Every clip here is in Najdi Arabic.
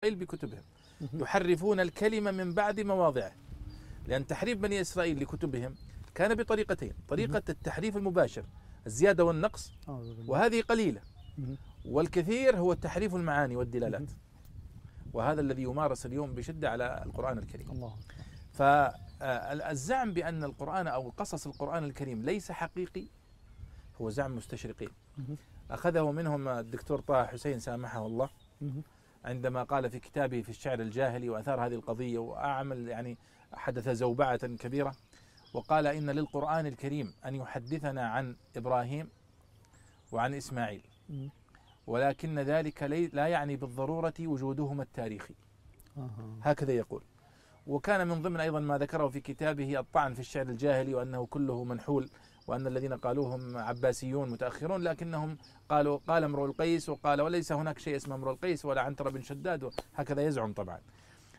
بكتبهم يحرفون الكلمة من بعد مواضعه، لأن تحريف بني إسرائيل لكتبهم كان بطريقتين: طريقة التحريف المباشر الزيادة والنقص، وهذه قليلة، والكثير هو التحريف المعاني والدلالات، وهذا الذي يمارس اليوم بشدة على القرآن الكريم. الله. فالزعم بأن القرآن أو قصص القرآن الكريم ليس حقيقي هو زعم مستشرقين، أخذه منهم الدكتور طه حسين سامحه الله عندما قال في كتابه في الشعر الجاهلي وأثار هذه القضية وأعمل يعني حدث زوبعة كبيرة، وقال إن للقرآن الكريم أن يحدثنا عن إبراهيم وعن إسماعيل، ولكن ذلك لا يعني بالضرورة وجودهما التاريخي. هكذا يقول. وكان من ضمن أيضا ما ذكره في كتابه الطعن في الشعر الجاهلي وأنه كله منحول، وأن الذين قالوهم عباسيون متأخرون، لكنهم قال امرؤ القيس وقال وليس هناك شيء اسمه امرؤ القيس ولا عنتر بن شداد، هكذا يزعم طبعا.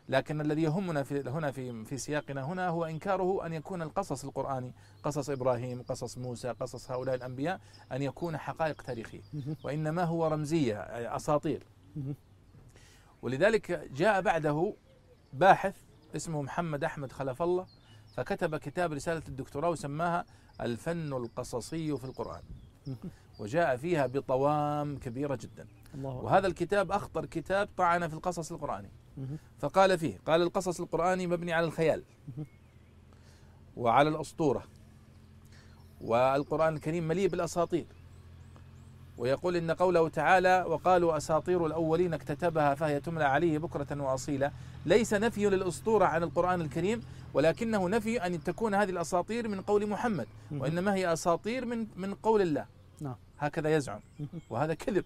لكن الذي يهمنا هنا في سياقنا هنا هو إنكاره أن يكون القصص القرآني، قصص إبراهيم، قصص موسى، قصص هؤلاء الأنبياء، أن يكون حقائق تاريخية، وإنما هو رمزية أساطير. ولذلك جاء بعده باحث اسمه محمد أحمد خلف الله، فكتب كتاب رسالة الدكتوراه وسماها الفن القصصي في القرآن، وجاء فيها بطوام كبيرة جدا. وهذا الكتاب أخطر كتاب طعن في القصص القرآني، فقال فيه: قال القصص القرآني مبني على الخيال وعلى الأسطورة، والقرآن الكريم مليء بالأساطير، ويقول إن قوله تعالى وقالوا أساطير الأولين اكتتبها فهي تملى عليه بكرة وأصيلا ليس نفي للأسطورة عن القرآن الكريم، ولكنه نفي أن تكون هذه الأساطير من قول محمد، وإنما هي أساطير من قول الله. هكذا يزعم، وهذا كذب.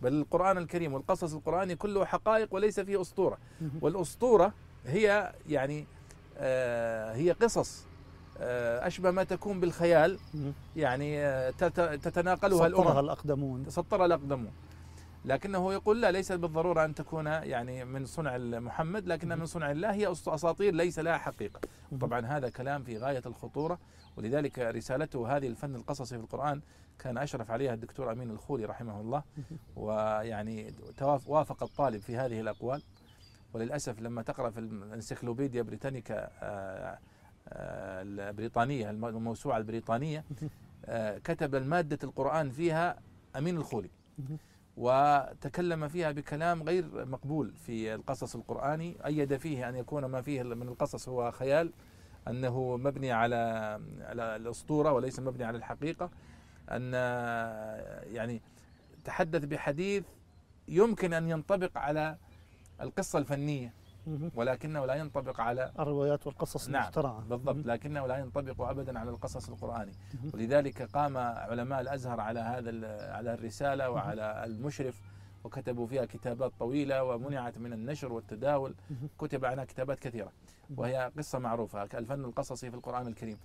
بل القرآن الكريم والقصص القرآني كله حقائق وليس فيه أسطورة. والأسطورة هي يعني هي قصص أشبه ما تكون بالخيال، يعني تتناقلها الأمم، سطرها الأقدمون. لكنه يقول لا، ليس بالضرورة أن تكون يعني من صنع محمد، لكنها من صنع الله، هي أساطير ليس لها حقيقة. طبعا هذا كلام في غاية الخطورة، ولذلك رسالته هذه الفن القصصي في القرآن كان أشرف عليها الدكتور أمين الخولي رحمه الله، ويعني وافق الطالب في هذه الأقوال. وللأسف لما تقرأ في الانسيكلوبيديا بريتانيكا البريطانية، الموسوعة البريطانية، كتب المادة القرآن فيها أمين الخولي، وتكلم فيها بكلام غير مقبول في القصص القرآني، أيد فيه أن يكون ما فيه من القصص هو خيال، أنه مبني على الأسطورة وليس مبني على الحقيقة، أن يعني تحدث بحديث يمكن أن ينطبق على القصة الفنية، ولكنه لا ينطبق على الروايات والقصص المخترعة. نعم بالضبط، لكنه لا ينطبق أبدا على القصص القرآني. ولذلك قام علماء الأزهر على على الرسالة وعلى المشرف، وكتبوا فيها كتابات طويلة ومنعت من النشر والتداول، كتب عنها كتابات كثيرة، وهي قصة معروفة الفن القصصي في القرآن الكريم.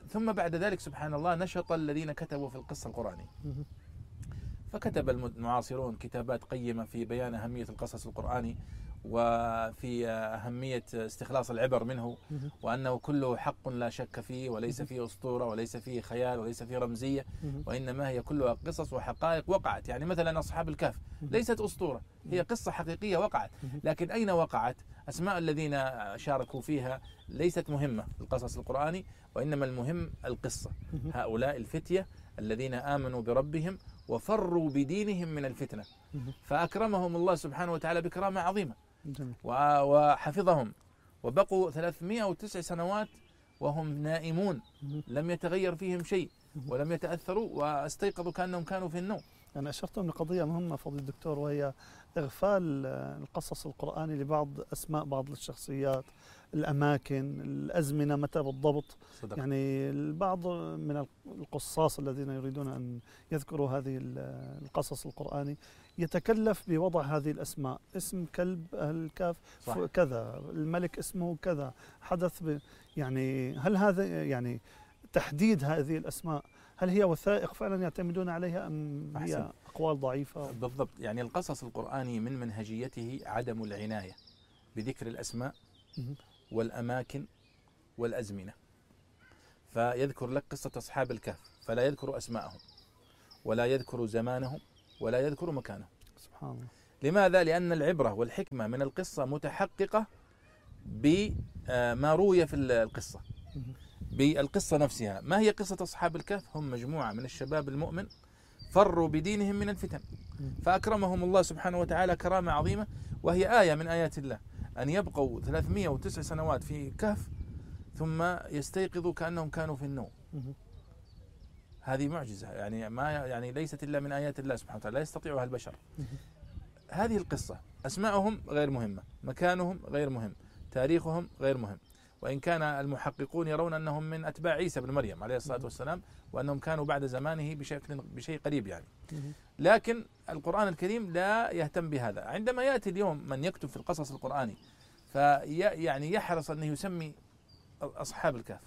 ثم بعد ذلك سبحان الله نشط الذين كتبوا في القصة القرآنية، فكتب المعاصرون كتابات قيمة في بيان أهمية القصص القرآني، وفي أهمية استخلاص العبر منه، وأنه كله حق لا شك فيه، وليس فيه أسطورة وليس فيه خيال وليس فيه رمزية، وإنما هي كلها قصص وحقائق وقعت. يعني مثلا أصحاب الكهف ليست أسطورة، هي قصة حقيقية وقعت، لكن أين وقعت؟ أسماء الذين شاركوا فيها ليست مهمة القصص القرآني، وإنما المهم القصة. هؤلاء الفتية الذين آمنوا بربهم وفروا بدينهم من الفتنة، فأكرمهم الله سبحانه وتعالى بكرامة عظيمة، وحفظهم، وبقوا 309 سنوات وهم نائمون، لم يتغير فيهم شيء ولم يتأثروا، واستيقظوا كأنهم كانوا في النوم. أنا أشرت من قضية مهمة فضيلة الدكتور، وهي إغفال القصص القرآني لبعض أسماء بعض الشخصيات، الأماكن، الأزمنة متى بالضبط. صدق. يعني البعض من القصاص الذين يريدون أن يذكروا هذه القصص القرآني يتكلف بوضع هذه الأسماء، اسم كلب الكهف كذا، الملك اسمه كذا، حدث يعني هل هذا يعني تحديد هذه الأسماء هل هي وثائق فعلا يعتمدون عليها أم هي أقوال ضعيفة؟ بالضبط. يعني القصص القرآني من منهجيته عدم العناية بذكر الأسماء والأماكن والأزمنة، فيذكر لك قصة أصحاب الكهف فلا يذكر أسماءهم ولا يذكر زمانهم ولا يذكر مكانهم. سبحان الله. لماذا؟ لأن العبرة والحكمة من القصة متحققة بما روي في القصة، بالقصة نفسها. ما هي قصة أصحاب الكهف؟ هم مجموعة من الشباب المؤمن فروا بدينهم من الفتن، فأكرمهم الله سبحانه وتعالى كرامة عظيمة، وهي آية من آيات الله أن يبقوا 309 سنوات في كهف ثم يستيقظوا كأنهم كانوا في النوم. هذه معجزة، يعني ليست إلا من آيات الله سبحانه وتعالى، لا يستطيعها البشر. هذه القصة أسماءهم غير مهمة، مكانهم غير مهم، تاريخهم غير مهم، وإن كان المحققون يرون أنهم من أتباع عيسى بن مريم عليه الصلاة والسلام، وأنهم كانوا بعد زمانه بشيء قريب يعني. لكن القرآن الكريم لا يهتم بهذا. عندما يأتي اليوم من يكتب في القصص القرآني يعني يحرص أن يسمي أصحاب الكهف،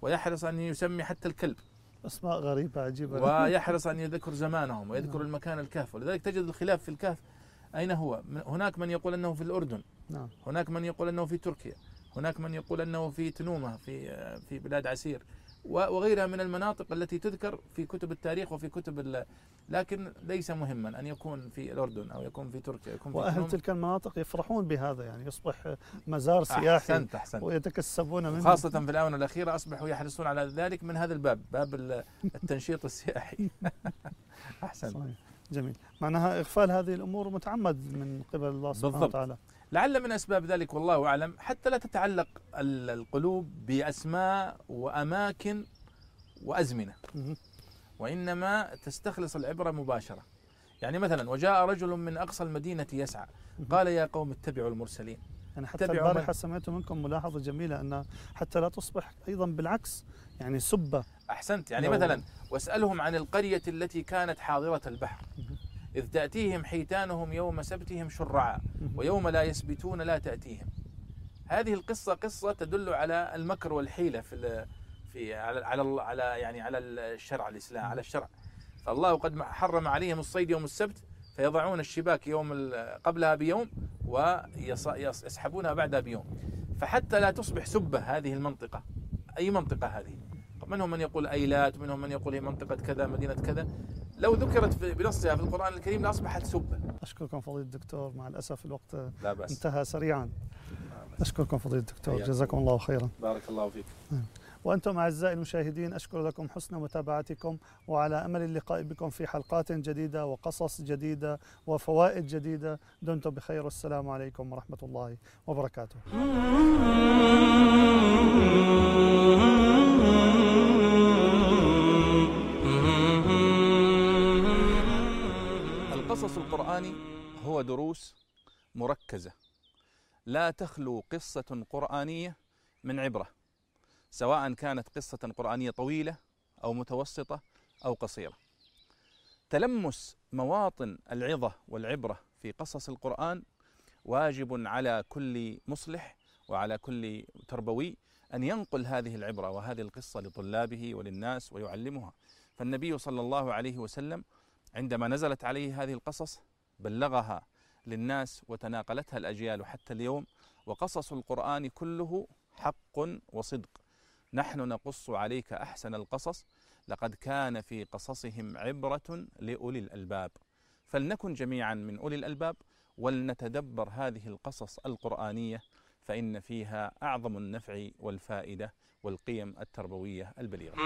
ويحرص أن يسمي حتى الكلب أسماء غريبة عجيبة، ويحرص أن يذكر زمانهم ويذكر المكان الكهف. ولذلك تجد الخلاف في الكهف أين هو. هناك من يقول أنه في الأردن، هناك من يقول أنه في تركيا، هناك من يقول أنه في تنومة في بلاد عسير، وغيرها من المناطق التي تذكر في كتب التاريخ وفي كتب لكن ليس مهما أن يكون في الأردن أو يكون في تركيا، يكون في وأهل تلك المناطق يفرحون بهذا، يعني يصبح مزار سياحي. أحسنت. ويتكسبون منه، خاصة في الآونة الأخيرة أصبحوا يحرصون على ذلك من هذا الباب، باب التنشيط السياحي. أحسن. صحيح. جميل. معناها إغفال هذه الأمور متعمد من قبل الله سبحانه وتعالى. لعل من أسباب ذلك والله أعلم، حتى لا تتعلق القلوب بأسماء وأماكن وأزمنة، وإنما تستخلص العبرة مباشرة. يعني مثلا وجاء رجل من أقصى المدينة يسعى، قال يا قوم اتبعوا المرسلين. يعني حتى البارحة سمعت منكم ملاحظة جميلة أن حتى لا تصبح أيضا بالعكس يعني سبة. أحسنت. يعني مثلا واسألهم عن القرية التي كانت حاضرة البحر إذ تأتيهم حيتانهم يوم سبتهم شرعا ويوم لا يسبتون لا تأتيهم. هذه القصة قصة تدل على المكر والحيلة على الشرع الإسلام، على الشرع. فالله قد حرم عليهم الصيد يوم السبت، فيضعون الشباك قبلها بيوم ويسحبونها بعدها بيوم. فحتى لا تصبح سبة هذه المنطقة، أي منطقة هذه، منهم من يقول أيلات، منهم من يقول هي منطقة كذا مدينة كذا، لو ذكرت بنصها في القرآن الكريم لأصبحت سبة. أشكركم فضيلة الدكتور، مع الأسف الوقت انتهى سريعا. أشكركم فضيلة الدكتور، جزاكم الله خيرا. بارك الله فيك. وأنتم أعزائي المشاهدين، أشكر لكم حسن متابعتكم، وعلى أمل اللقاء بكم في حلقات جديدة وقصص جديدة وفوائد جديدة. دمتم بخير، والسلام عليكم ورحمة الله وبركاته. القصص القرآني هو دروس مركزة لا تخلو قصة قرآنية من عبرة، سواء كانت قصة قرآنية طويلة أو متوسطة أو قصيرة. تلمس مواطن العظة والعبرة في قصص القرآن واجب على كل مصلح وعلى كل تربوي أن ينقل هذه العبرة وهذه القصة لطلابه وللناس ويعلمها. فالنبي صلى الله عليه وسلم عندما نزلت عليه هذه القصص بلغها للناس وتناقلتها الأجيال حتى اليوم. وقصص القرآن كله حق وصدق. نحن نقص عليك أحسن القصص، لقد كان في قصصهم عبرة لأولي الألباب. فلنكن جميعا من أولي الألباب ولنتدبر هذه القصص القرآنية، فإن فيها أعظم النفع والفائدة والقيم التربوية البليغة.